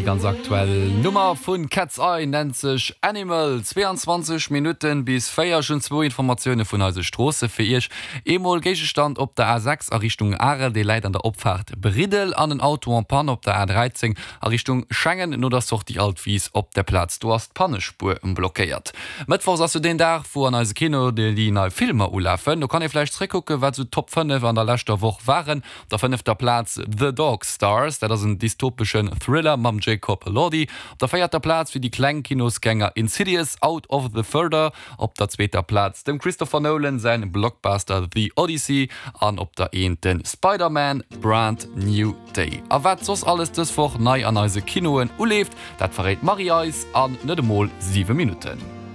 ganz aktuell Nummer vun Cat's Eye nennt sech Animal. 22 Minutten bis 4. Ech hunn zwou Informatioune vun eise Stroosse fir Iech. Eemol Géigestand op der A6 a Richtung Arel, dee läit an der Opfaart Briddel an en Auto en panne op der A13 a Richtung Schengen no der Sortie Altwis op der Plaz. Do ass d'Pannespuer blockéiert. Mëttwochs ass jo deen Dag, wou an eise Kino déi nei Filmer ulafen. Do kann ee vläicht zréckkucken, wat esou d'Top 5 an der leschter Woch waren. Op der fënnefter Plaz The Dog Stars, dat ass en dystopeschen Thriller mam Jacob Elordi. Op der véierter Plaz fir déi kleng Kinosgänger Insidious, Out of the Further. Op der zweeter Plaz dem Christopher Nolan säin Blockbuster The Odyssey an op der Eent de Spider-Man, Brand New Day. A wat soss alles dës Woch nei an eise Kinoen uleeft, dat verréit d'Marie eis an net emol 7 Minutten.